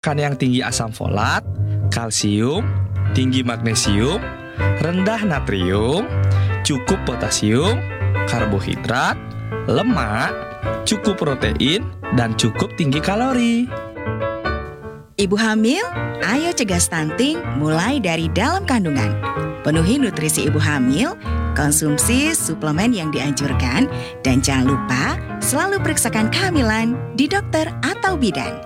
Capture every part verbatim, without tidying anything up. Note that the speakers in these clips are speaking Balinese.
Makan yang tinggi asam folat, kalsium, tinggi magnesium, rendah natrium, cukup potasium, karbohidrat, lemak, cukup protein, dan cukup tinggi kalori. Ibu hamil, ayo cegah stunting mulai dari dalam kandungan. Penuhi nutrisi ibu hamil, konsumsi suplemen yang dianjurkan, dan jangan lupa selalu periksakan kehamilan di dokter atau bidan.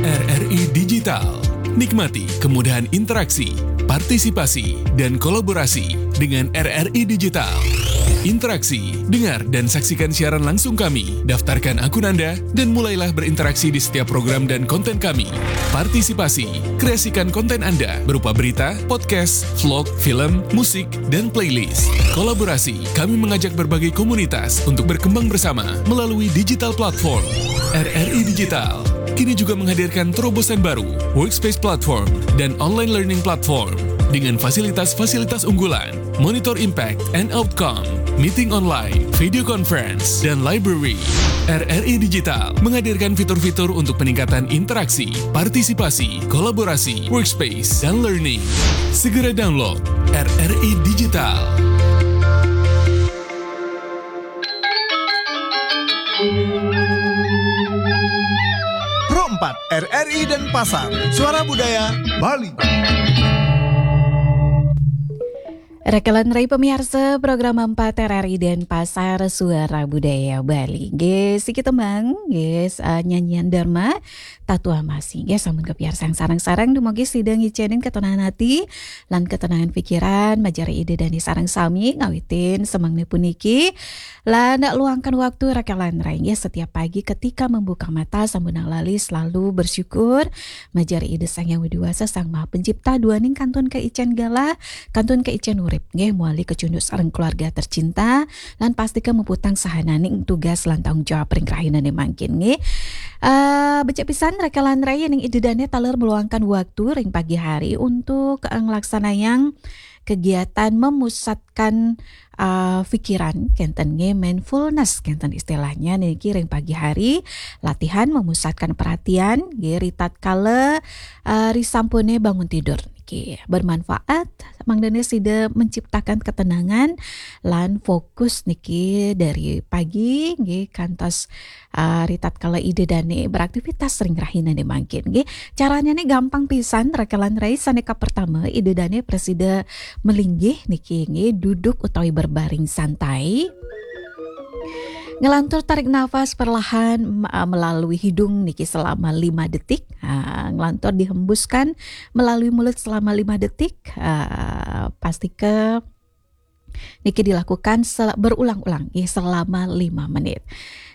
R R I Digital. Nikmati kemudahan interaksi, partisipasi, dan kolaborasi dengan R R I Digital. Interaksi, dengar dan saksikan siaran langsung kami. Daftarkan akun Anda dan mulailah berinteraksi di setiap program dan konten kami. Partisipasi, kreasikan konten Anda berupa berita, podcast, vlog, film, musik, dan playlist. Kolaborasi, kami mengajak berbagai komunitas untuk berkembang bersama melalui digital platform. R R I Digital kini juga menghadirkan terobosan baru, Workspace Platform dan Online Learning Platform dengan fasilitas-fasilitas unggulan, monitor impact and outcome, meeting online, video conference, dan library. R R I Digital menghadirkan fitur-fitur untuk peningkatan interaksi, partisipasi, kolaborasi, workspace, dan learning. Segera download R R I Digital. Pro empat, R R I Denpasar, Suara Budaya Bali. Rakalan rai pemiarsa program empat R R I Denpasar, Suara Budaya Bali. Nggih, siki tembang, nggih, eh, nyanyian Dharma, Tatua Masih. Nggih, sampun kepiarsang sareng-sareng, dumugi sida ngicenin ketenangan ati lan ketenangan pikiran, majeng Ida dane sareng sami ngawitin semengne puniki. Lan luangkan waktu rakalan rai, nggih, setiap pagi ketika membuka mata sampunang lali selalu bersyukur majeng Ida Sang Hyang Widi Wasa, Sang Maha Pencipta duaning kantun kaicen galah, kantun kaicen urip, nggih, mawali kacunduk sareng keluarga tercinta, lan pastika muputang sahananing tugas lan tanggung jawab ring rahinane mangkin, nggih. Eh, becik pisan rakalan rai ning Ida dane taler meluangkan waktu ring pagi hari untuk, eh, nglaksanayang kegiatan memusatkan, eh, pikiran, kenten nggih, mindfulness kenten istilahnya niki ring pagi hari, latihan memusatkan perhatian nggih ritatkala, eh, risampune bangun tidur niki. Bermanfaat, mangdane sida menciptakan ketenangan lan fokus niki dari pagi nggih kantos, eh, ritatkala Ida dane beraktivitas ring rahinane mangkin nggih. Caranya nih gampang pisan, rakalan rai. Sane kapertama, Ida dane prasida melinggih niki nggih, duduk utawi berbaring santai. Ngelantur tarik nafas perlahan, m-, ah, melalui hidung niki selama lima detik. Ah, ngelantur dihembuskan melalui mulut selama lima detik. Ah, pastika niki dilakukan sel-, berulang-ulang, nggih, selama lima menit.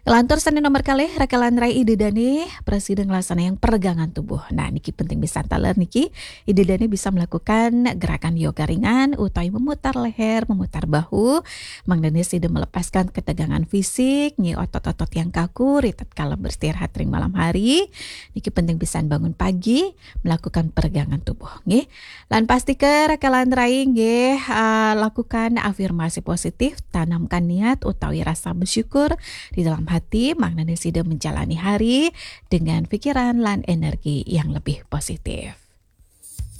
Ngelantur sane nomor kalih, rakalan rai, Ida dane prasida nglaksanayang peregangan tubuh. Nah, niki penting pisan taler niki. Ida dane bisa melakukan gerakan yoga ringan utawi memutar leher, memutar bahu. Mangdane sida melepaskan ketegangan fisik, nggih, otot-otot yang kaku ritatkala beristirahat ring malam hari. Niki penting pisan bangun pagi melakukan peregangan tubuh, nggih. Lan pastika rakalan rai nggih, ah, lakukan afirmasi positif, tanamkan niat utawi rasa bersyukur di dalam hati, mangdane sida menjalani hari dengan pikiran lan energi yang lebih positif.